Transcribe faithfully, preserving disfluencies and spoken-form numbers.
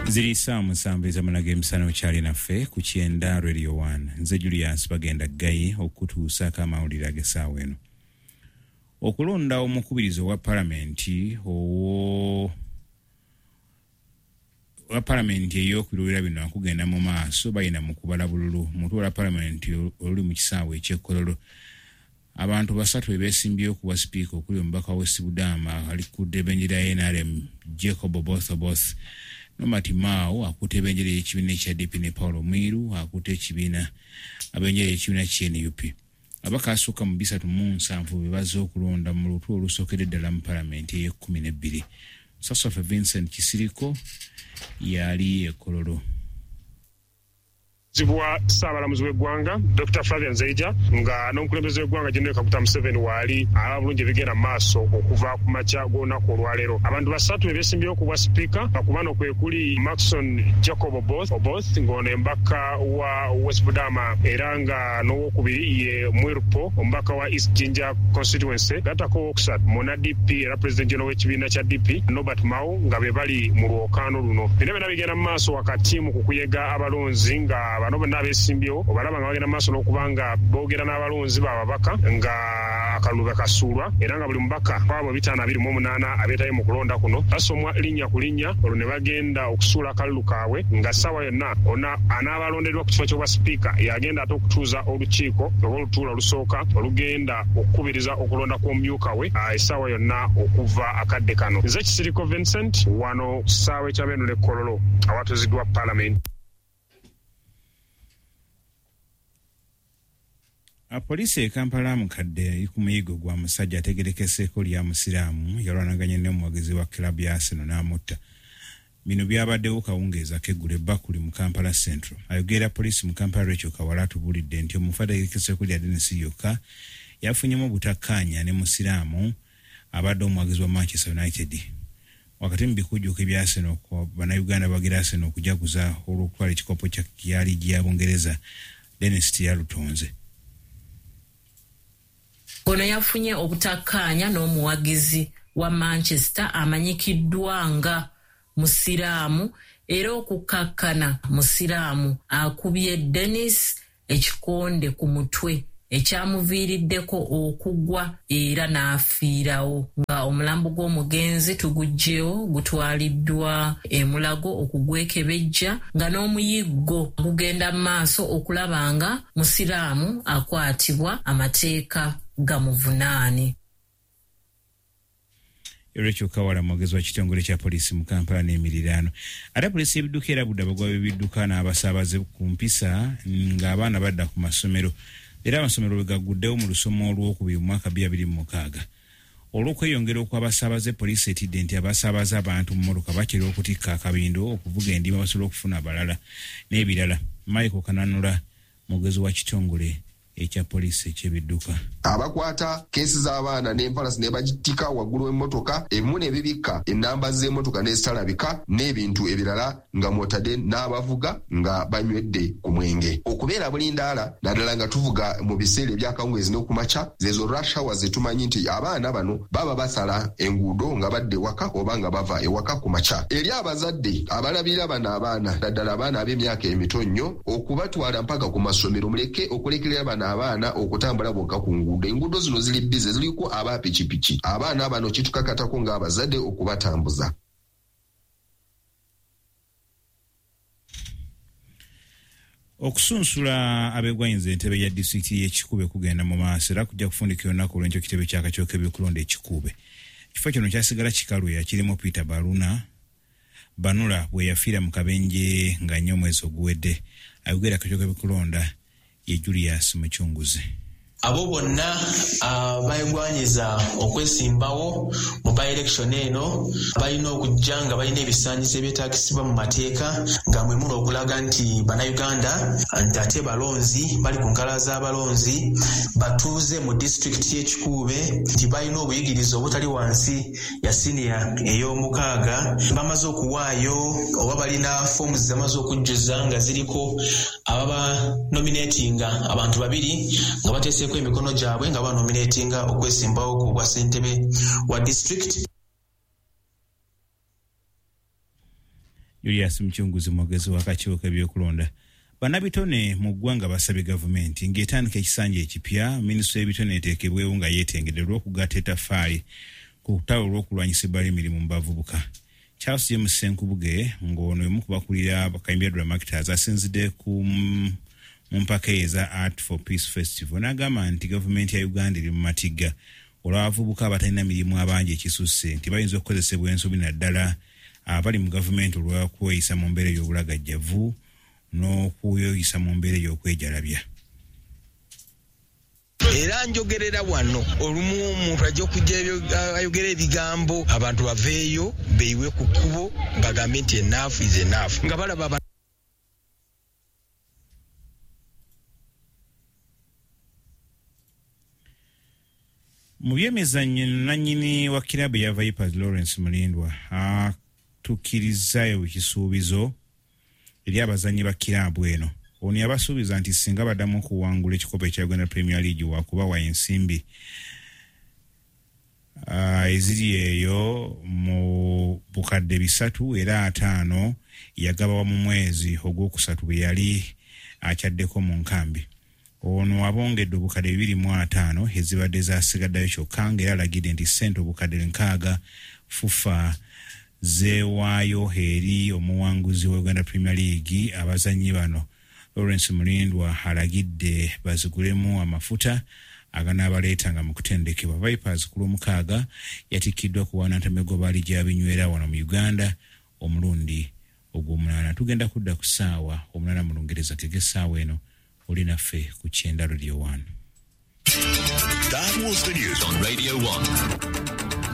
Ziri ssaawa musanvu ez'amala g'emisana, okyali naffe ku Kyenda Radio one. Nze Julius Bagenda Ggayi okutuusaako amawulire ag'essaawa eno. Okulonda omukubiriza owa palamenti owo wa palamenti ey'okubiri bino akugenda mu maaso, bayina mu kubala bululu mu lutuula palamenti oluli mu kisaawe eky'Ekkololo. Abantu basatu beesimbyewo ku bwa sipiika okuli omubaka wa West Budama ali ku ddebbenjera ya N R M Jacob Oboth Oboth, Nomati Mao akutte ebendera y'ekibiina ekya D P ne Paulo Mwiru akutte ekibiina abendera y'ekibiina kya N U P. Ababaka asukka mu bisatu mu nsanvu be bazze okulonda mu lutuula olusookedde ddala mu palamenti ey'ekkumi n'ebbiri. Sassofe Vincent Kisiriko yali e Kololo. Zibwa Ssaabalamuzi w'eggwanga Doctor Flavian Zeija nga n'omukulembeze w'eggwanga General Kaguta Museveni waali alaba bulungi ebigenda mu maaso okuva ku makya g'olunaku olwaleero. Abantu basatu be beesimbyewo ku bwa sipiika, ku bano kwe kuli Maxon Jacob Oboth, Oboth ng'ono embaka wa West Budama, era nga n'owokubiri ye Mwirpo omubaka wa East Jinja constituency, gattako owokusatu muna D P era President General w'ekibiina kya D P Norbert Mao nga be bali mu lwokaano luno. Bino byonna bigenda mu maaso wakati mu kukuyega abalonzi nga bano bonna abeesimbyewo obalaba nga bagenda mu maaso n'okuba nga boogera n'abalonzi b'ababaka nga akalulu kasuulwa, era nga buli mubaka kwabo bitaano abiri mu omunaana abeetaye mu kulonda kuno basomwa linnya ku linnya, olwo ne bagenda okusuula akalulu kaabwe nga ssaawa yonna ona anaabalondeddwa ku kifo ky'obwa sipiika yagenda ate okutuuza olukiiko oba olutuula olusooka olugenda okukubiriza okulonda kw'omumyuka we essaawa yonna okuva akadde kano. Nze Kisiriko Vincent wano ku kisaawe ky'Abenule Kololo awatuuziddwa palamenti. Poliisi e Kampala mukadde eri ku muyigo gwa musajja ategerekeseeko lya Musiraamu yalwanaganye n'omuwagizi wa club ya Arsenal n'amutta. Bino byabaddewo kawungeezi ak'eggulo ebbakuli mu Kampala Central. Ayogera poliisi mu Kampala Rachel Kawala atubuulidde nti omufu ategerekeseeko lya Dennis yokka yafunyemu obutakkaanya ne Musiraamu abadde omuwagizi wa Manchester United. Wakati mu bikujjuko ebya Arsenal, Bannayuganda bagira Arsenal okujaguza olw'okutwala ekikopo kya liigi ya Bungereza, Dennis teyalutonze. Ono yafunye obutakkaanya n'omuwagizi wa Manchester amanyikiddwa nga Musiraamu, era okukkakkana Musiraamu akubye Dennis ekikonde ku mutwe ekyamuviiriddeko okugwa era n'afiirawo. Nga omulambo gw'omugenzi tuguggyewo gutwaliddwa e Mulago okugwekebejja, nga n'omuyiggo gugenda mu maaso okulaba nga Musiraamu akwatibwa amateeka gamuvunaane. Rachel Kawala mwogezi wa kitongole kya poliisi mu Kampala n'emiriraano. Ate poliisi y'ebidduka erabudde abagwa b'ebidduka n'abasaabaze ku mpisa ng'abaana badda ku masomero. Era amasomero bwe gagguddewo mu lusoma olwokubiri mu mwaka bbiri abiri mu mukaaga. Olw'okweyongera okw'abasaabaze, poliisi etidde nti abasaabaze abantu mu mmotoka bakira okutikka akabindo, okuvuga endima basobola okufuna abalala n'ebirala. Michael Kananula mwogezi wa kitongole ekya poliisi eky'ebidduka. Abakwata keesi z'abaana n'empalasi ne bagitika waggulu w'emmotoka, ebimu ne bibikka ennamba z'emmotoka n'ezitalabika n'ebintu ebirala nga mw'otadde n'abavuga nga banywedde ku mwenge. Okubeera bulindaala naddala nga tuvuga mu biseera eby'akawungeezi n'okumakya, zezo rush hours zetumanyi nti abaana bano baba basala enguudo nga badda ewaka oba nga bava ewaka ku makya. Eri abazadde abalabirira bano abaana naddala abaana ab'emyaka emito nnyo okubatwala mpaka ku masomero, muleke okulekerera bano abaana okutambula bokka ku nguudo. Enguudo zino ziri bize, ziriko aba pikipiki. Abaana bano kitukakatako ng'abazadde okubatambuza. Okusunsula abegwanyiza entebe ya disitulikiti y'e Kikuube kugenda mu maaso era kujja kufundikira olunaku olw'enkya ekitebe ky'akakiiko k'ebyokulonda e Kikuube. Ekifo kino kyasigala kikalu yakirimu Peter Baruna Banula bwe yafiira mu kabenje nga nnyo omwezi oguwedde. Ayogera akakiiko k'ebyokulonda ye Julius Muchunguzi. Abo bonna abeegwanyiza okwesimbawo mu by-election eno balina okujja nga balina ebisaanyizo ebyetaagisibwa mu mateeka, nga mwe muli okulaga nti Bannayuganda nti ate balonzi bali ku nkalala z'abalonzi batuuze mu disitulikiti y'e Kikuube, nti balina obuyigirize obutali wansi ya siniya ey'omukaaga, bamaze okuwaayo oba balina foomu zamaze okujjuza nga ziriko ababa nominatinga abantu babiri nga bateeseeko emikono gyabwe nga banominatinga okwesimbawo ku bwa ssentebe wa district. Julius Muchunguzi mwogezi w'akakiiko k'ebyokulonda. Bannabitone mu ggwanga basabye gavumenti ng'etandika ekisanja ekipya minisitule y'ebitone eteekebwewo nga yeetengedde olw'okugatta ettaffaali ku lutalo olw'okulwanyisa ebbala ly'emirimu mu bavubuka. Charles James Ssenkubuge ng'ono y'omu ku bakulira Kayimbira Dramactors asinzidde ku mu mpaka eza Art for Peace Festival n'agamba nti gavumenti ya Uganda eri mu matigga olw'abavubuka abatalina mirimu abangi ekisusse nti bayinza okukozesebwa ensobi naddala abali mu gavumenti olw'okweyisa mu mbeera ey'obulagajjavu n'okweyisa mu mbeera ey'okwejalabya. Era njogerera wano olumu omuntu ajja okujja ayogera ebigambo abantu baveeyo beeyiwe ku kkubo bagambe nti enough is enough nga balaba. Mu byemizannyo nannyini wa kiraabu ya Vipers Lawrence Mulindwa atuukirizaayo ekisuubizo eri abazannyi ba kiraabu eno. Ono yabasuubiza nti singa baddamu okuwangula ekikopo ekya Uganda Premier League wakubawa ensimbi eziri eyo mu bukadde bisatu era ataano yagabawa mu mwezi ogwokusatu bwe yali akyaddeko mu nkambi. Ono abongedde obukadde bibiri mu ataano ezibadde zasigaddeyo kyokka ng'era alagidde nti ssente obukadde nkaaga FUFA zeewaayo eri omuwanguzi wa Uganda Premier League. Abazannyi bano Lawrence Mulindwa alagidde bazigulemu amafuta aganaabaleetanga mu kutendekebwa. Vipers ku Lwomukaaga yatikkiddwa ku wanantamegoba ligi ya binywera wano mu Uganda omulundi ogw'omunaana. Tugenda kudda ku ssaawa omunaana mu Lungereza tege essaawa eno oli naffe ku Kyenda Radio one. That was the news on Radio one.